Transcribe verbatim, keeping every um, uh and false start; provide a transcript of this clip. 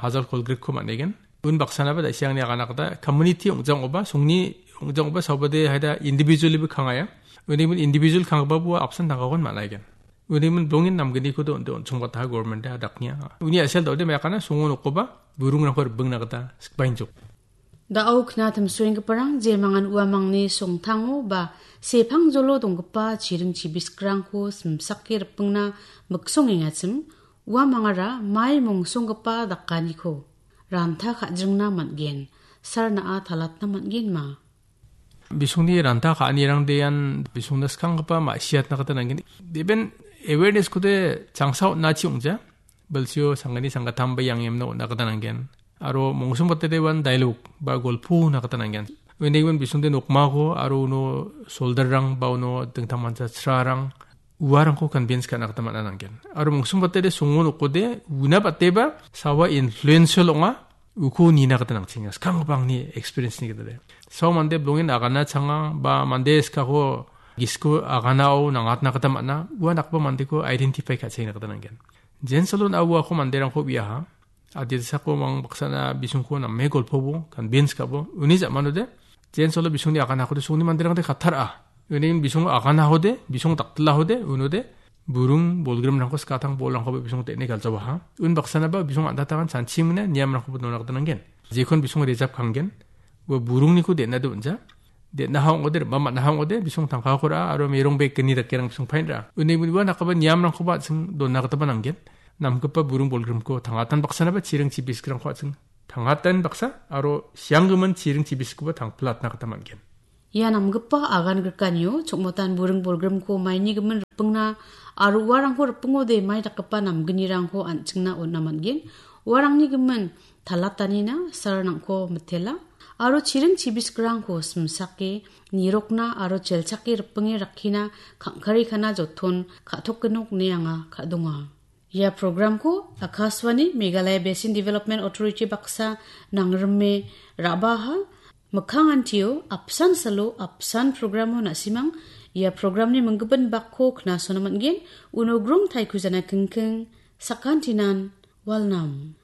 Hajal kolgrikko man·egen. Un baksanaba da·siangni agana gita community ong·jangoba, songni ong·jangoba saobade haida individually-ba kangaya. Uni individual kanggipa bua apsan tangkakon man·aigen. Uni min bongin namgnikodo onde on·chongbataha government-e adaknia. Uni a·sel da·ode mekana songo nokoba burungrangko ribingna gita sikbainjok. Da·o kna timsoenggiparang jemangan uamangni songtango ba sepangjolo donggipa chiring chibiskrangko simsake ripingna miksongengachim, uamangara mai mongsonggipa dakaniko ranta ka·jringna man·gen, sarna·a talatna man·genma. Bisongni ranta ka·anirangdean bisongna skanggipa ma·siatna gita nanggen. Deben awareness-kode changsa on·achi ong·ja. Bilsio sanggni sanggatam ba yang yemna on·a gita nanggen. Aro mongsong batede wan dialogue ba golpo on·a gita nanggen. Uni gimin bisongde nokmako aro uno soldarrang ba uno dingtang mancha srarang uarangko convince ka·na gita man·a nanggen. Aro mongsong batede songo nokode una bateba sawa influential ong·a, uko nina gita nangchenga. Skanggipa angni experience-ni gita de. Sao mande bilongen agana changa ba mande skako gisiko aganao nangatna gita man·a. Ua nakgipa mandeko identify ka·chengna gita nanggen. Jensalo na uako manderangko uiaha. Adilsako mang baksana bisongko name golpobo, convince ka·bo. Uni ja·manode, jensalo bisongni aganakode songni manderangde kattara. Uni bisong aganahode, bisong daktilahode, unode, burung bolgrimrangko skatang bolrangkoba bisong te·ne galjawaha. Un baksanaba bisong an·tatagan chanchimingna niamrangkoba nona gita nanggen. Jekon bisong rejap kanggen, ua burungniko de·na de on·ja. De·naha ong·ode, rima man·aha ong·ode, bisong tangkako ra·a, aro merong bek gni dakerang bisong pain ra·a. Uni ua nakgipa niamrangkoba an·ching dona gitaba nanggen. Namgipa burung bolgrimko tangatan baksanaba chiring chibiskrangko an·ching tangatan baksa, aro sianggimin chiring chibiskoba tangpilatna gita man·gen. Ia namgipa agan grikanio chokmotan buring bolgrimko maini gimin ripingna aro uarangko ripingode mai dakgipa namgnirangko an·chingna on·a man·gen. Uarangni gimin talatanina sarnangko mitela aro chiring chibiskrangko simsake nirokna aro chelchake ripinge rakkina kangkari kana joton ka·tokgenok ine anga ka·donga. Ia programko Akashvani Meghalaya Basin Development Authority baksa nangrime ra·baha. Mikkangantio apsan salo apsan programo na·simang ia programni minggipin bakko knasona man·gen. Uno grong taikujana kingking sakantinan walnam.